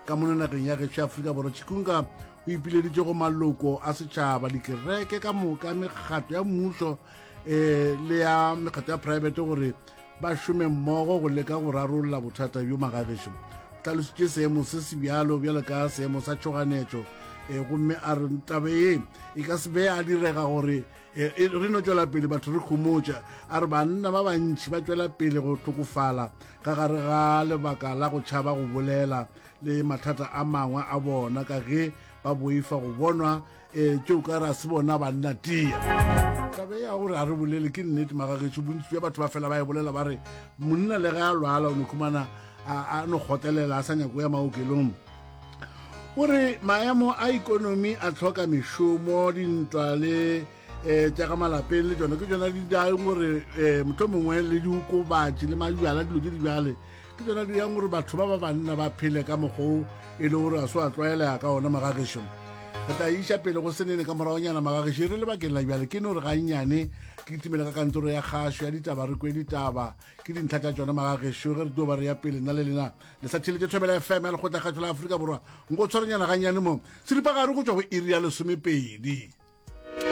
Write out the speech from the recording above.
Ka mono nageng ya gešo ya Afrika Borwa, Chikunga o ipileditše go maloko a setšhaba, dikereke ka moka, mekgatlo ya mmušo um le ya mekgatlo ya private gore ba šome mmogo go leka go rarolla bothata bjo. Magagešo o hlalositše seemo se se bjalo bjalo ka seemo sa tšhoganetšo um gomme a re tabe ye e ka se be a direga gore e, e, re no tšwela pele batho re khomotša. A re banna ba bantši ba tšwela pele go hlokofala ka gare ga lebaka la go tšhaba go bolela le mathata a mangwe a bona ka ge ba boifa go bonwa e, tšeo ka re a se bona banna tia. Taba ya gore a re bolele ke nnete magagetšo, bontši bja batho ba fela ba e bolela ba re monna le ge a lwala o no khumana a no kgotlelela a sa nyako ya maokelong. O re maemo a ikonomi a tlhoka mešomo, dintwa le um tša ka malapeng le tšona ke tšona di dang gore um motlho mongwe le diokobatši le majwala dilo tše di bjale ke tšona di yang gore batho ba ba banna ba phele ka mokgwa o e le gore a se wa tlwaelega ka ona. Magagešo re tla iša pele go senene ka moragonyana. Magagešo e re lebakeng la bjale ke no re gannyane ke kitimele ka kantoro ya kgašo ya ditaba re kwe ditaba ke dintlha tša tšona. Magagešo ge re tlo ba re ya pele nna le lena Le sa theletše Thobela FM ya Lekgotlakgašo la Afrika Borwa. Nko tshwarenyana gannyane mo. Seripagare go tšwa go iri ya lesomepedi.